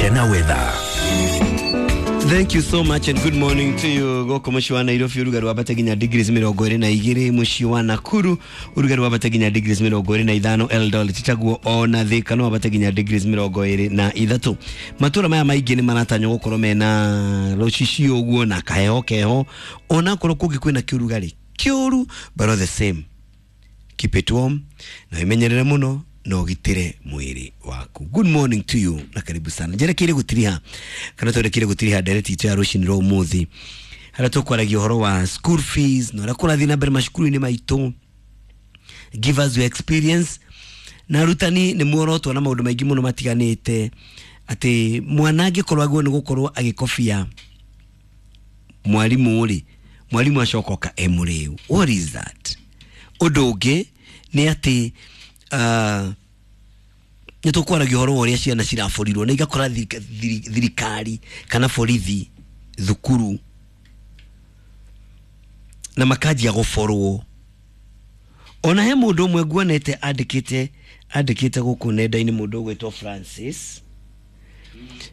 Gena weather. Thank you so much and good morning to you. Goko muciĩ wa Nairobi ũrugarĩ wambate nginya degrees 22, muciĩ wa Nakuru ũrugarĩ wambate nginya degrees 25, Eldoret taguo ona Thika no wambate nginya degrees 23. Matũra maya maingĩ nĩ maratanywo gũkorwo mena rũcicio ũguo na kaheho keho, ona korwo kũngĩ kwĩna kĩũrugarĩ kĩũru, but all the same keep it warm na wimenyerere muno na ũgitĩre mwĩrĩ waku. Good morning to you na karibu sana. Njerekeire gũtiriha kana twerekeire gũtiriha ndereti itũ ya rũcinĩ rwa ũmũthĩ harĩa tũkwaragia ũhoro wa school fees na ũrĩa kũrathiĩ na mbere macukuru-inĩ maitũ. Give us your experience. Na arutani nĩ muorotwo na maũndũ maingĩ mũno matiganĩte, atĩ mwana angĩkorwo agĩrĩirwo nĩ gũkorwo agĩkobia mwarimũ rĩ, mwarimũ acoka oka e mũrĩu. What is that? Ũndũ ũngĩ nĩ atĩ nĩ tũkwaragia ũhoro wa ũrĩa ciana ciraborirwo na igakora thirikari kana borithi thukuru na makanjia gũborwo. Ona he mũndũ ũmwe nguonete andĩkĩte gũkũ nenda-inĩ, mũndũ ũgwĩtwo Francis.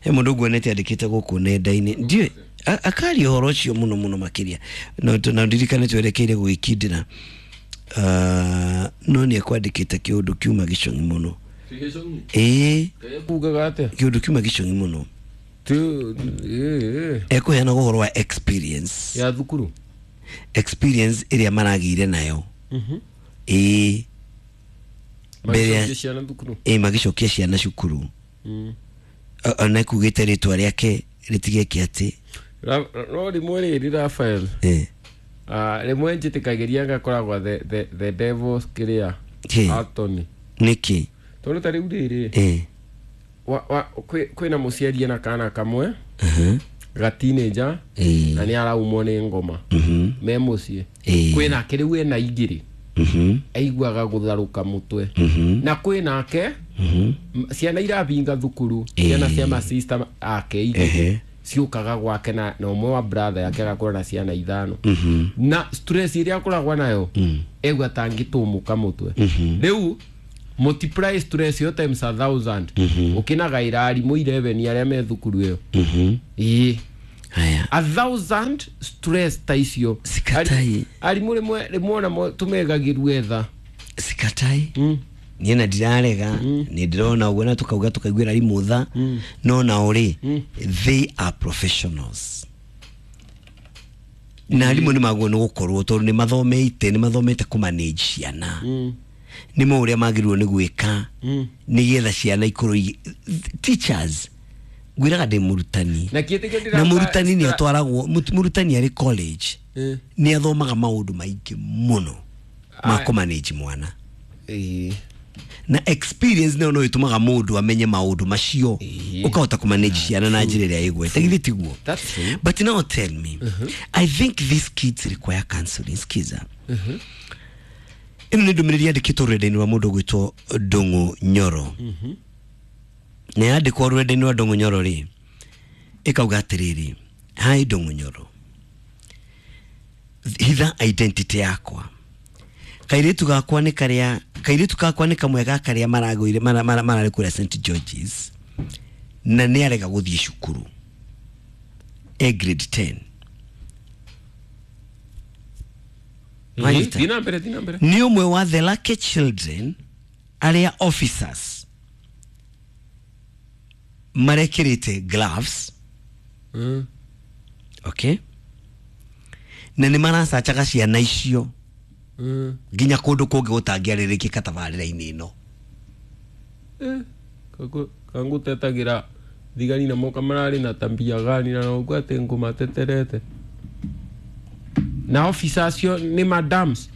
He mũndũ nguonete andĩkĩte gũkũ nenda-inĩ, ndiũĩ akaria ũhoro ũcio mũno mũno makĩria, na ndirikane twerekeire gũgĩkindĩra. No nĩ ekwandĩkĩte kĩũndũ kiuma gĩcong'i mũno. Ĩĩ, kugaga atĩa? Kĩũndũ kiuma gĩcong'i mũno. Ekũheana ũhoro wa experience ya thukuru, experience ĩrĩa maragĩire nayo. Ĩĩ, mbere ya magĩcokia ciana thukuru. Ĩĩ, magĩcokia ciana cukuru. Ona ekugĩte rĩtwa rĩake rĩtigeke atĩ No rĩmwe rĩrĩ Raphael, rĩmwe njĩtĩkagĩria ngakoragwo the devil's kĩrĩa Kĩ? Anthony, Nĩkĩ? Tondũ ta rĩu rĩrĩ, kwĩna mũciari ena kana kamwe ga teenager na nĩ araumwo nĩ ngoma me mũciĩ. Kwĩnake rĩu ena igĩrĩ, aiguaga gũtharũka mũtwe, na kwĩnake ciana irabinga thukuru, ciana cia masista ake igĩrĩ ciũkaga gwake na ũmwe wa brother yake agakorwo na ciana ithano, na stress ĩrĩa akoragwo nayo egua tangĩtũmũka mũtwe. Rĩu multiply stress ĩyo times 1,000, ũkĩnagaĩra arimũ 11 arĩa me thukuru ĩyo. Ĩĩ. Haya. 1,000 stress ta icio. Sikatai. Arimũ rĩmwe ona tũmegagĩrwo etha. Sikatai, niĩ na ndirarega, nĩ ndĩrona ũguo na tũkauga tũkaiguĩra arimũ tha, no nao rĩ, they are professionals, na arimũ nĩ magwo nĩ gũkorwo tondũ nĩ mathomete kũmanage ciana, nĩ mo ũrĩa magĩrĩirwo nĩ gwĩka nĩgetha ciana ikorwo teachers, ngwĩraga ndĩ mũrutani. Na kĩtĩkio Na mũrutani nĩ atwaragwo, mũrutani arĩ college nĩ athomaga maũndũ maingĩ mũno ma kũmanage mwana, na experience nayo no ĩtũmaga mũndũ amenye maũndũ macio, ũkahota kũmanage ciana na njĩra ĩrĩa ĩgwete. Githĩ tiguo? That's true. But now tell me, I think these kids require counseling. Skiza, ĩno nĩ ndũmĩrĩri yandĩkĩtwo rũrenda-inĩ rwa mũndũ ũgwĩtwo Ndũng'ũ Nyoro, na yandĩkwo rũrenda-inĩ rwa Ndũng'ũ Nyoro rĩ, ĩkauga atĩrĩrĩ: "Hi Ndũng'ũ Nyoro, hitha identity yakwa. Kairĩtu gakwa nĩ karĩa, kairĩtu gakwa nĩ kamwe ga karĩa maragũire mararĩ kũrĩa St Georges, na nĩ arega gũthiĩ cukuru, e grade 10." Wanyita? Thiĩ na mbere, thiĩ na mbere. Nĩ ũmwe wa the lucky children arĩa officers marekĩrĩte gloves. Okay, na nĩ maracacaga ciana icio nginya kũndũ kũngĩ gũtangĩarĩrĩkĩka tabarĩra-inĩ ĩno. Kangũtetagĩra thigari na moka mararĩ na tambia gani na noguo atĩ ngũmateterete na officer acio nĩ madams.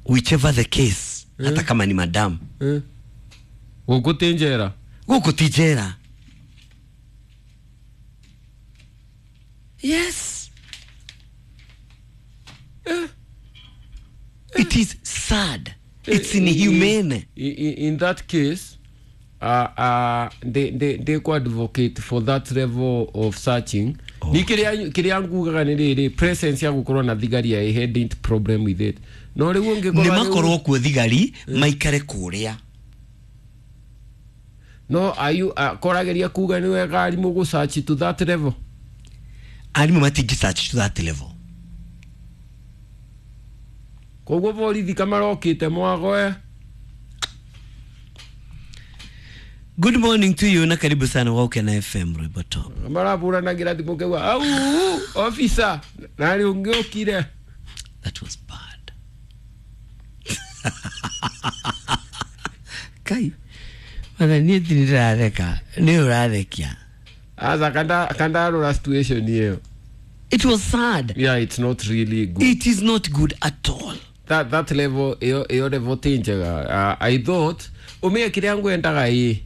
Whichever the case, hata kama ni madam, Gũkũ ti njera. Gũkũ ti njera. Yes, it is sad, it's inhumane. In that case, they ku advocate for that level of searching. Ni kiria ngugaga nĩ rĩrĩ, presence ya gũkorwo na thigari, I hadn't problem with it, no rĩu ũngĩkorwo Nĩ makorwo kuo thigari maikare kũrĩa. No ayu korageria kuga ni wega arimũ gũ search to that level. Arimũ matingĩ search to that level. Koguo borithi kamarokite mwagoe. Good morning to you na karibu sana wa Ukena FM Rwimbo Top. Maraburanagira thimũ kewa au officer nari ungiokire. That was bad. Kai. Mana niĩ ndiratheka nĩ ũrathekia. Aza kanda rora situation hiyo. It was sad. Yeah, it's not really good. It is not good at all. That level iyo level ti njega. I thought umia kiria ngwendaga ii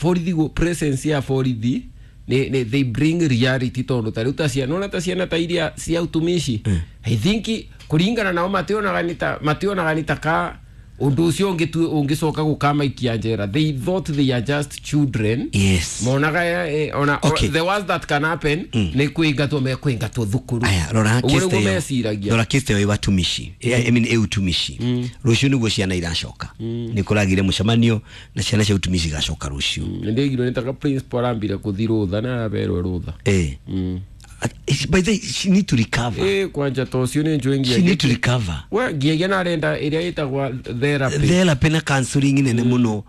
borithi go presence ya borithi ni they bring reality tondu ta riu ta ciana ona ta ciana ta iria cia utumishi. I think kuringana nao mationaga ni ta ka undu ucio ungicoka gukamaikia njera. They thought they are just children. Yes. Monaga ona okay. The worst that can happen ni kuingatwo mekuingatwo thukuru. Aya rora keste rora keste yo watumishi. I mean e utumishi. Rucio niguo ciana iracoka. Ni kuragire mucemanio na ciana cia utumishi gacoka rucio. Ndigirwo nitaka principal arambire kuthi rutha na araberwo rutha. By the she need to recover. Kwanja to cio ni njwe ngia. She need to recover. We ngiagia na arenda iria itagwa therapy. Therapy na counseling nene muno.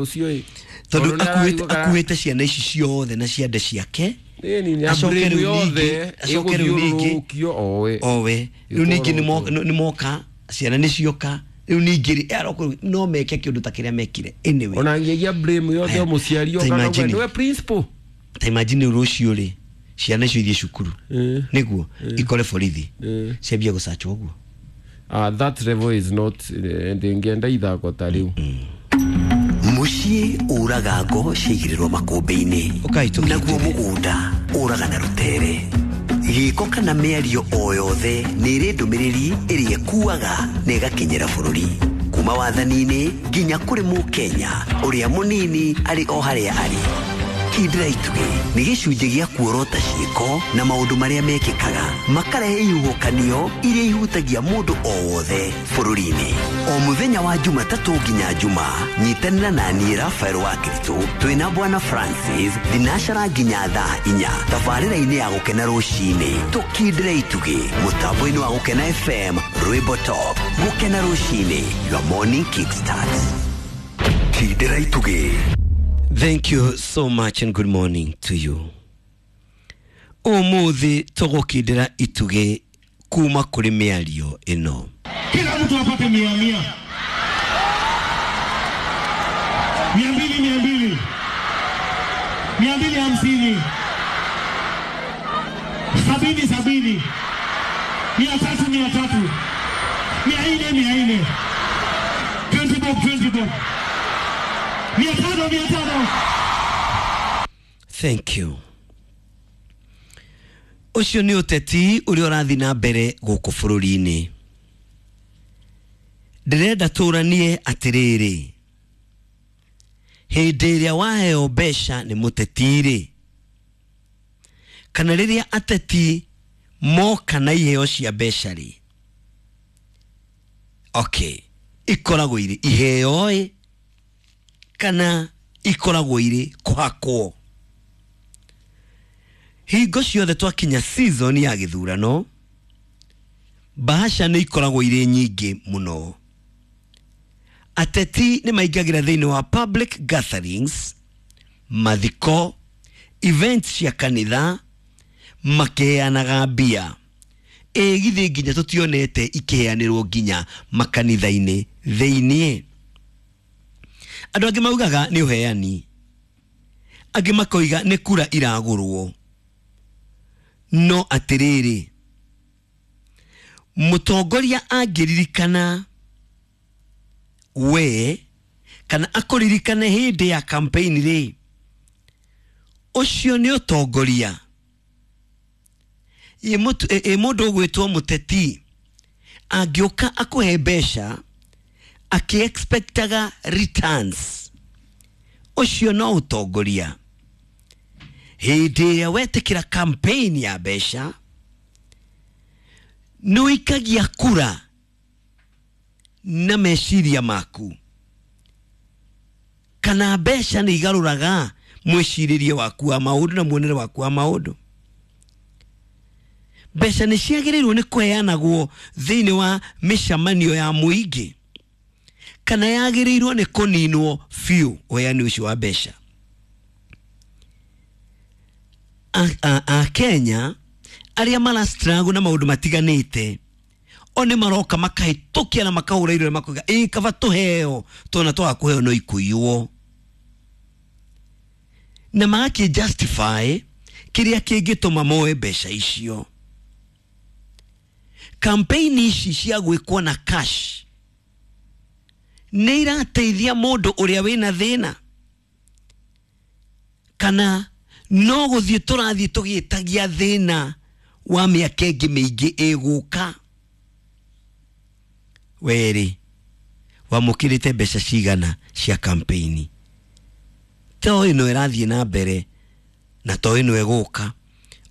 Ucio i. Tondu akuite ciana ici ciothe na ciande ciake. Ni acoke riu acoke riu ningi owe. Owe. Riu ningi ni moka ciana ni cioka. Riu ningi aroko no meke kiundu ta kiria mekire. Anyway. Ona ngiagia blame yothe muciari oka niwe principal. Ta imagine rucio ri. Ciana icio ithiĩ cukuru niguo ikore borithi ciambie gũcachwo ũguo. That level is not ndingĩenda ithako ta rĩu. Mũciĩ ũraga ngo ciaigĩrĩrwo makũmbĩ-inĩ naguo mũgũnda ũraga na rũtere. Gĩko kana mĩario o yothe nĩ ĩrĩ ndũmĩrĩri ĩrĩa ĩkuaga na ĩgakinyĩra bũrũri kuma wathani-inĩ nginya kũrĩ mũkenya ũrĩa mũnini arĩ o harĩa arĩ. Kindĩra itugĩ nĩ gĩcunjĩ gĩa kuorota ciĩko na maũndũ marĩa mekĩkaga makarehe ihuhũkanio iria ihutagia mũndũ o wothe bũrũri-inĩ. O mũthenya wa Jumatatũ nginya Juma nyitanĩra na niĩ Rafael wa Kiritũ twĩna Bwana Francis thinacara nginya thaa 4 tabarĩra-inĩ ya Gũkena rũcinĩ. Tũkindĩre itugĩ mũtambo-inĩ wa Gũkena FM Rwimbo Top. Gũkena rũcinĩ, your morning kickstart. Kindĩra itugĩ. Thank you so much and good morning to you. Umuthi tugukindira ituge kuma kuri miario ino. Kila mtu apate 100 100 200 200 250 70 70 300 300 400 400 20 bob 20 bob 500 500. Thank you. Ucio ni uteti uria urathi na mbere guku bururi-ini. Ndirenda turanie atiriri, hindi iria waheo mbeca ni muteti-ri, kana riria ateti moka na iheo cia mbeca ri, okay, ikoragwo iri iheo kana ikoragwo iri kuhakwo. Hingo ciothe twakinya season ya githurano, bahasha nĩ ikoragwo irĩ nyingĩ mũno. Ateti nĩ maingagĩra thĩinĩ wa public gatherings, mathiko, events cia kanitha, makĩheanaga mbia. Ĩ githĩ nginya tũtionete ikĩheanĩrwo nginya makanitha-inĩ thĩiniĩ. Andũ angĩ maugaga nĩ ũheani, angĩ makoiga nĩ kura iragũrwo. No atĩrĩrĩ, mũtongoria angĩririkana we kana akũririkane hĩndĩ ya campaign rĩ, ũcio nĩ ũtongoria. Ĩ mũndũ ũgwĩtwo mũteti angĩũka akũhe mbeca akĩ-expectaga returns, ũcio no ũtongoria. Hĩndĩ ĩrĩa wetĩkĩra campaign ya mbeca, nĩ ũikagia kura na meciria maku. Kana mbeca nĩ igarũraga mwĩcirĩrie waku wa maũndũ na muonere waku wa maũndũ. Mbeca nĩ ciagĩrĩirwo nĩ kũheanagwo thĩinĩ wa mĩcemanio ya mũingĩ, kana yagĩrĩirwo nĩ kũninwo biũ ũheani ũcio wa mbeca. A Kenya arĩa marastruggle na maũndũ matiganĩte o nĩ maroka makahĩtũkia na makahũra irore makoiga ĩ kaba tũheo tona twaga kũheo no ikũiywo, na magakĩ justify kĩrĩa kĩngĩtũma moe mbeca icio. Campaign ici cia gwĩkwo na cash nĩ irateithia mũndũ ũrĩa wĩna thĩna, kana no gũthiĩ tũrathiĩ tũgĩtagia thĩna wa mĩaka ĩngĩ mĩingĩ ĩgũka? Werĩ wamũkĩrĩte mbeca cigana cia campaign? To ĩno ĩrathiĩ na mbere na to ĩno ĩgũka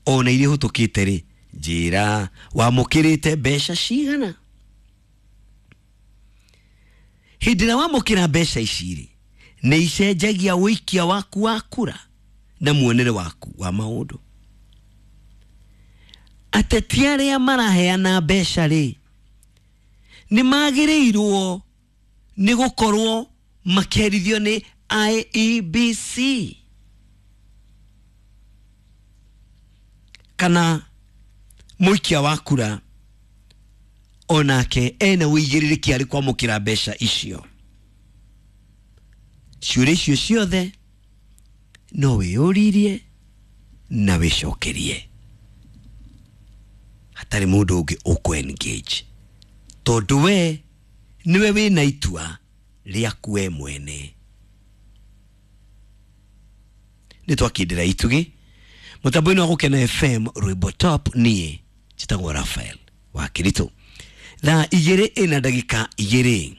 ona iria ihũtũkĩte rĩ, njĩra wamũkĩrĩte mbeca cigana? Hĩndĩ ĩrĩa wamũkĩra mbeca ici rĩ, nĩ icenjagia ũikia waku wa kura na muonere waku wa maũndũ. Ateti arĩa maraheana mbeca rĩ, nĩ magĩrĩirwo nĩ gũkorwo makĩherithio nĩ IEBC kana mũikia wa kura onake ena ũigĩrĩrĩki arĩ kwamũkĩra mbeca icio. Ciũria icio ciothe no wĩyũririe na wĩcokerie hatarĩ mũndũ ũngĩ ũkũ engage, tondũ we nĩwe wĩna itua rĩaku we mwene. Nĩ twakindĩra itugĩ mũtambo-inĩ wa Gũkena FM rwĩmbo top. Niĩ njĩtagwo Raphael wa Kĩritũ. Thaa 2:02.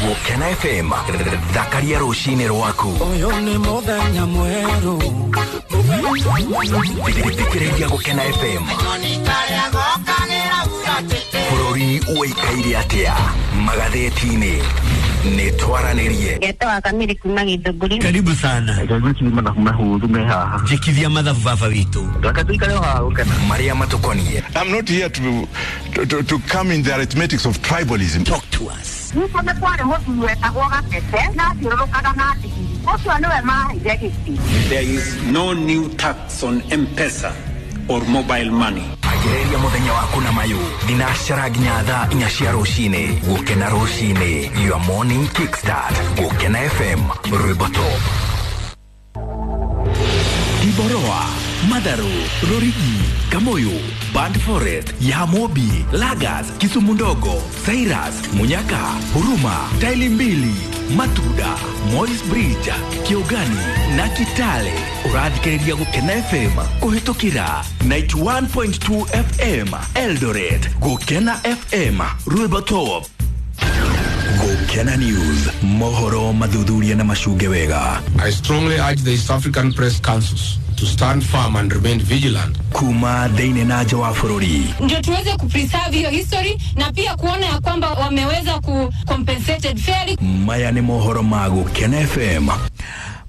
Gũkena FM, thakaria rũcinĩ rwaku. Ũyũ nĩ mũthenya mwerũ. Thikĩrĩria Gũkena FM. Bũrũri ũikaire atĩa magathĩti-inĩ? Nĩ twaranĩrie. Ngetwa Kamiri kuma Githũngũri. Karibu sana. Njĩkithia mathabu baba witũ. Marĩa matũkoniĩ. I'm not here to come in the arithmetics of tribalism. Talk to us. Nĩguo nĩ kwarĩ mũthuri wetagwo Gatete na athiũrũrũkaga na ndigiri. Ũcio nĩwe maheire gĩtĩ. There is no new tax on M-Pesa or mobile money. Anjĩrĩria mũthenya waku na mayũ thinacara nginya thaa 4 cia rũcinĩ. Gũkena rũcinĩ, your morning kickstart. Gũkena FM, rwĩmbo top. Tiboroa, Matharu, Rorigi, Kamoyo, Band Forest, Yamobi, Lagas, Kisumu Ndogo, Cyrus, Munyaka, Huruma, Taili Mbili, Matuda, Moi's Bridge, Kiogani na Kitale. Ũrathikĩrĩria Gũkena FM kũhĩtũkĩra 91.2 FM Eldoret. Gũkena FM, rwĩmbo top. Gũkena News, mohoro mathuthuria na macunge wega. I strongly urge the East African Press Councils to stand firm and remain vigilant. Kuma thĩinĩ na nja wa bũrũri, ndio tuweze kupreserve hiyo history na pia kuona ya kwamba wameweza ku compensated fairly. Maya nĩ mohoro ma Gũkena FM.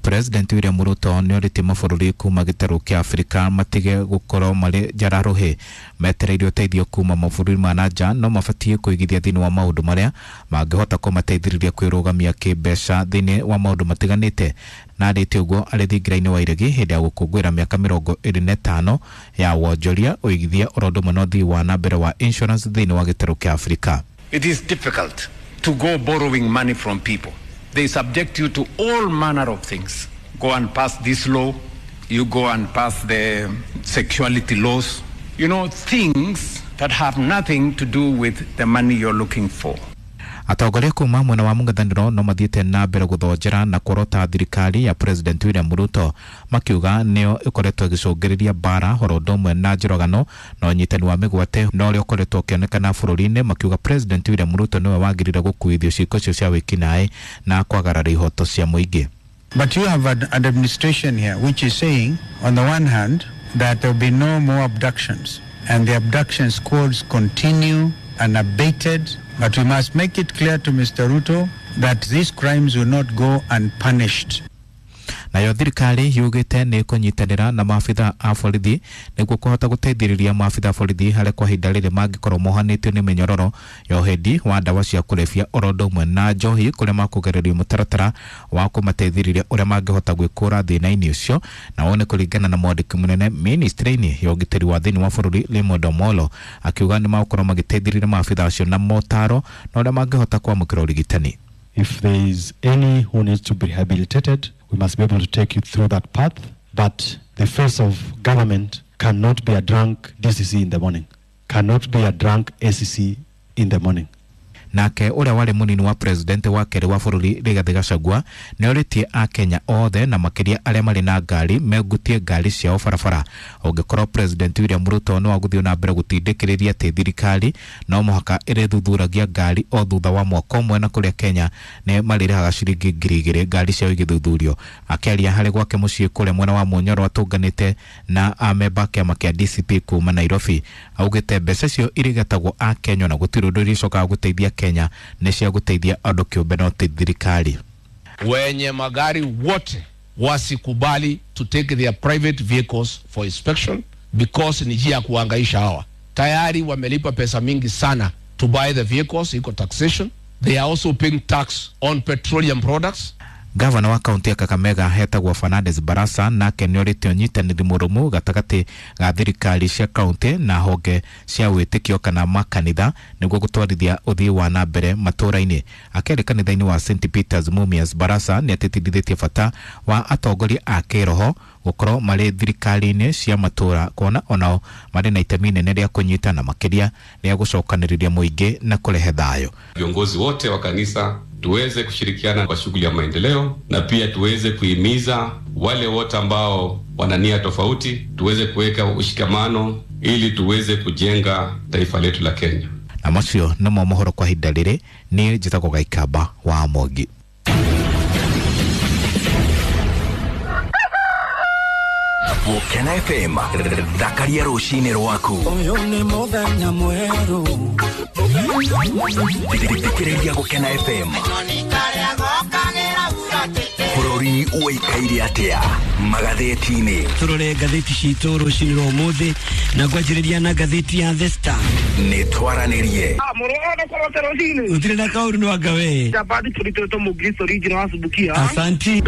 President William Ruto nĩ orĩtie mabũrũri kuma gĩtarũ kĩa Afrika matige gũkorwo marĩ njararuhĩ metereire ũteithio kuma mabũrũri ma na nja, no mabatiĩ kũigithia thĩinĩ wa maũndũ marĩa mangĩhota kũmateithĩrĩria kwĩrũgamia kĩmbeca thĩinĩ wa maũndũ matiganĩte. Na arĩtie ũguo arĩ thingira-inĩ wa Iregi hĩndĩ ya gũkũngũĩra mĩaka 25 ya wonjoria, ũigithia oro ũndũ ũmwe na ũthii wa na mbere wa insurance thĩinĩ wa gĩtarũ kĩa Afrika. It is difficult to go borrowing money from people. They subject you to all manner of things. Go and pass this law, you go and pass the sexuality laws. You know, things that have nothing to do with the money you're looking for. Atongoria kuma mwena wa mũng'ethanĩro no mathiĩte na mbere gũthonjera na kũrota thirikari ya President William Ruto, makiuga nĩyo ĩkoretwo ĩgĩcũngĩrĩria mbara oro ũndũ ũmwe na njũragano na ũnyitani wa mĩgwate na ũrĩa ũkoretwo ũkĩonekana bũrũri-inĩ, makiuga President William Ruto nĩwe wagĩrĩire gũkuithio ciĩko icio cia wĩkinaĩ na kwagarara ihoto cia mũingĩ. But you have an administration here which is saying, on the one hand, that there will be no more abductions, and the abduction squads continue unabated, but we must make it clear to Mr. Ruto that these crimes will not go unpunished. Nayo thirikari yugite ni kunyitanira na maabitha a borithi niguo kuhota guteithiriria maabitha a borithi haria kwa ihinda riri mangikorwo mohanitio ni minyororo ya uhendi wa ndawa cia kurebia oro undu umwe na njohi kuria makugererio mutaratara wa kumateithiriria uria mangihota gwikura thina-ini ucio. Na wone kuringana na mwandiki munene ministry-ini ya ugitiri wa thiini wa bururi Raymond Omolo akiuga ni magukorwo magiteithiriria maabitha acio na motaro na uria mangihota kwamukira urigitani. If there is any who needs to be rehabilitated, we must be able to take you through that path. But the face of government cannot be a drunk DCC in the morning, cannot be a drunk ACC in the morning. Nake uria wari munini wa president wa keri wa bururi Rigathi Gachagua ni oritie akenya othe na makiria aria mari na ngari megutie ngari ciao barabara. Ungikorwo President William Ruto no aguthio na mbere gutindikiriria ati thirikari no muhaka irithuthuragia ngari o thutha wa mwaka umwe na kuria Kenya ni marirahaga ciringi 2,000 ngari ciao igithuthurio. Akiaria hari gwake mucii kuria mwena wa Munyoro atunganite na amemba kiama kia DCP kuma Nairobi augite mbeca cio irigatagwo akenya na gutiri undu iricokaga guteithia Kenya ni cia guteithia andu kiumbe no ti thirikari. Wenye magari wote wasikubali to take their private vehicles for inspection because ni njia ya kuhangaisha hawa. Tayari wamelipa pesa mingi sana to buy the vehicles, iko taxation. They are also paying tax on petroleum products. Gavana wa kaunti ya Kakamega hetagwo Fernandes Barasa nake nĩorĩtie ũnyitanĩri mũrũmu gatagatĩ ga thirikari cia kaunti na honge cia wĩtĩkio kana makanitha nĩguo gũtwarithia ũthii wa na mbere matũũra-inĩ. Akĩaria kanitha-inĩ wa St Peters Mumias, Barasa nĩatĩtĩrithĩtie bata wa atongoria a kĩroho gũkorwo marĩ thirikari-inĩ cia matũũra kuona onao marĩ na itemi inene rĩa kũnyitana makĩria rĩa gũcokanĩrĩria mũingĩ na kũrehe thayũ. Viongozi wote wa kanisa tuweze kushirikiana kwa shughuli ya maendeleo na pia tuweze kuhimiza wale wote ambao wana nia tofauti, tuweze kuweka ushikamano ili tuweze kujenga taifa letu la Kenya. Na macio nĩmo mohoro kwa ihinda rĩrĩ. Niĩ njĩtagwo Gaikamba wa Mwangi. Gukena FM thakaria rucini rwaku. Uyu ni muthenya mweru. Thikiriria Gukena FM. Bururi uikaire atia magatheti-inĩ. Turore ngatheti citũ rucini rwa umuthi na ngwanjĩrĩria na ngatheti ya The Star. Nĩ twaranĩrie. Utire na kaũndũ no anga we. Asanti.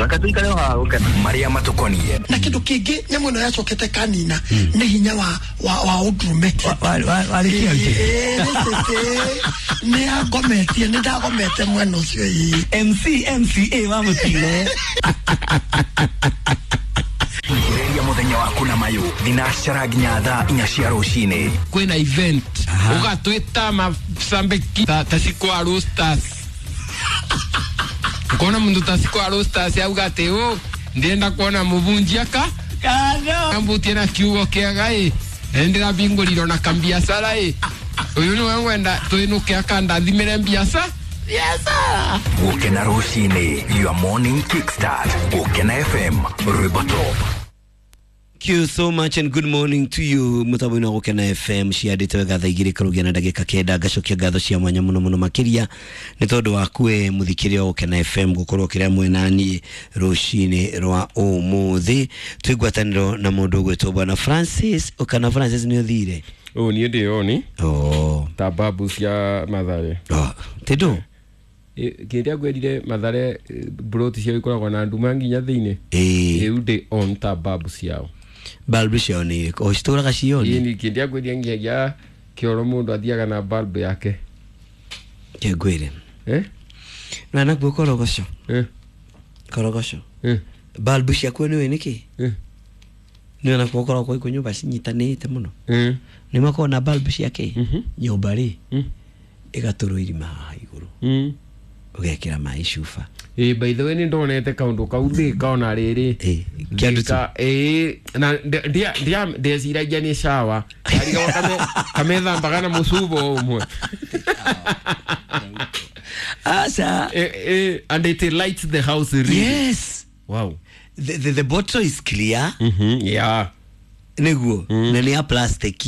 Maria matukonie. Na kindu kingi nyamu ĩno yacokete kanina nĩ hinya wa ũndũrũme. Nĩ angometie, nĩ ndagomete mwena ũcio ĩ. MC MCA wa mũtino. Thikĩrĩria mũthenya waku na mayũ thinacara nginya thaa 4 cia rũcinĩ. Kwĩna event ũgatwĩta macambĩki ta Cikwa Roasters. Ukona mundu ta Cikwa Roasters auga atĩ ũ ndĩrenda kuona mũbunjia ka ambutie na kiugo kĩega ĩ ndĩrabingũrirwo na kambiacara ĩ ũyũ nĩwe ngwenda twĩnũke akandathimĩre mbiaca. Gukena rũcinĩ, your morning kickstart. Gukena FM, rwĩmbo top. Thank you so much and good morning to you. Mutambo-inĩ wa Gukena FM ciandĩte wega thaa 2 karugia na ndagĩka 9. Ngacokia ngatho cia mwanya mũno mũno makĩria nĩ tondũ waku we mũthikĩria wa Gukena FM gũkorwo kĩrĩa mwena niĩ rũcinĩ rwa ũmũthĩ. Twĩ ngwatanĩro na mũndũ ũgwĩtwo Bwana Francis. Ũkana Francis nĩ ũthire? Ũ niĩ ndĩ oni. Oh. Ta babu cia Mathare. Oh. Tĩndũ? Kĩrĩa ngwĩrire Mathare broti ciao ikoragwo na nduma nginya thĩinĩ. Rĩu ndĩ on ta babu ciao. Bulb ciao nĩ irĩkũ? O citũraga cioni? Ĩni kĩrĩa ngwĩrire nginyagia kĩoro mũndũ athiaga na bulb yake. Kĩngwĩre. Na nakuo korogoco. Korogoco. Bulb ciakuo nĩũĩ nĩkĩ? Nĩ nakuo koragwo ikuo nyũmba cinyitanĩte mũno. Nĩ makoragwo na bulb ciake. Nyũmba rĩ ĩgatũrwo irima haha igũrũ. Ũgekĩra maĩ cuba. By the way nĩ ndonete kaũndũ kau thĩka ona rĩrĩ. Kĩndũ na ndeciragia nĩ shower. Ndarigagwo kamethambaga na mũcuba ũmwe. Aca. And it lights the house really. Yes. Wow. The bottle is clear. Yeah. Nĩguo, na nĩ ya plastic,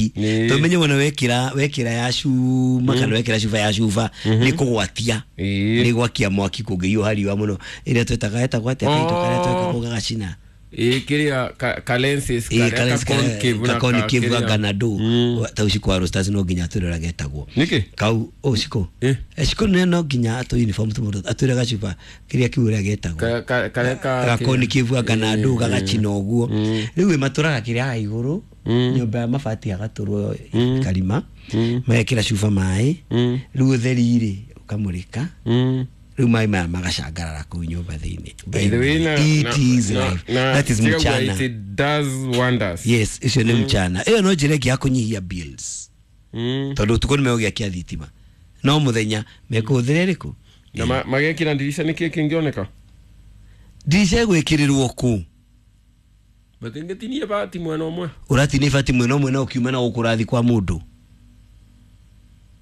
tũmenye wona wekĩra ya cuma kana wekĩra cuba ya cuba nĩ kũgwatia, nĩ gwakia mwaki kũngĩhiũha riũa mũno, ĩrĩa twetaga etagwo atĩa kaito karĩa tweka gagacina? Ĩ, kĩrĩa ka lenses karĩa ka concave na ka concave kĩrĩa. Ganado ta uciko wa Roasters no nginya atwĩre ũrĩa getagwo. Nĩkĩ? Kau ũciko ciko nĩ no nginya atũ uniform tũmũndũ atwĩre gacuba kĩrĩa kiu ũrĩa getagwo. Karĩa ka Gakonikĩvu ganado gagacina ũguo. Rĩu ĩ matũraga kĩrĩa haha igũrũ nyũmba ya mabati, agatũrwo karima, magekĩra cuba maĩ, rĩu ũtheri rĩ ũkamũrĩka, rĩu maĩ maya magacangarara kũu nyũmba thĩinĩ. By the way, It is life. That is tiga kuga mchana. it does wonders. Yes, icio nĩ mchana. Ĩyo no njĩra ĩngĩ ya kũnyihia bills, tondũ ũtukũ nĩ megũgĩakia thitima, no mũthenya mekũhũthĩra ĩrĩkũ? Na magekĩra ndirica, nĩkĩ kĩngĩoneka? Ndirica ĩgwĩkĩrĩrwo kũ? Matingĩtinie bati mwena ũmwe. Ũratinia ibati mwena ũmwe na ũkiuma na gũkũ ũrathiĩ kwa mũndũ,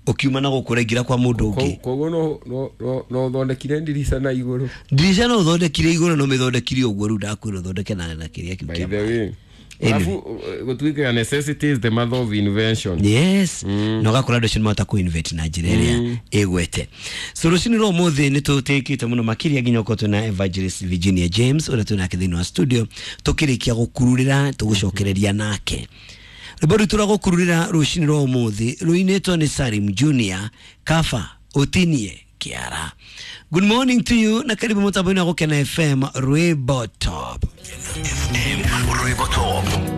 ũkiuma na gũkũ ũraingĩra kwa mũndũ ũngĩ. Koguo no ũthondekire ndirica na igũrũ. Ndirica no ũthondekire igũrũ, no mĩthondekire ũguo rĩu ndakwĩra ũthondeke na kĩrĩa kĩu By kĩa the way, Anyway. alafu gũtuĩkaga necessity is the mother of invention. Yes, na ũgakora andũ acio nĩmahota kũ-invent na njĩra ĩrĩa ĩgwete. So rũcinĩ rwa ũmũthĩ nĩ tũtĩkĩte mũno makĩria nginya ũkorwo twĩna Evangelist Virginia James ũrĩa twĩ nake thĩinĩ wa studio, tũkĩrĩkia gũkururĩra tũgũcokereria nake. Rwĩmbo rwitũ rwa gũkururĩra rũcinĩ rwa ũmũthĩ rũinĩtwo nĩ Salim Junior, Kafa Ũtinie Kĩara. Good morning to you na karibu mũtambo-inĩ wa Gũkena FM, Rwĩmbo Top. Rwĩmbo Top.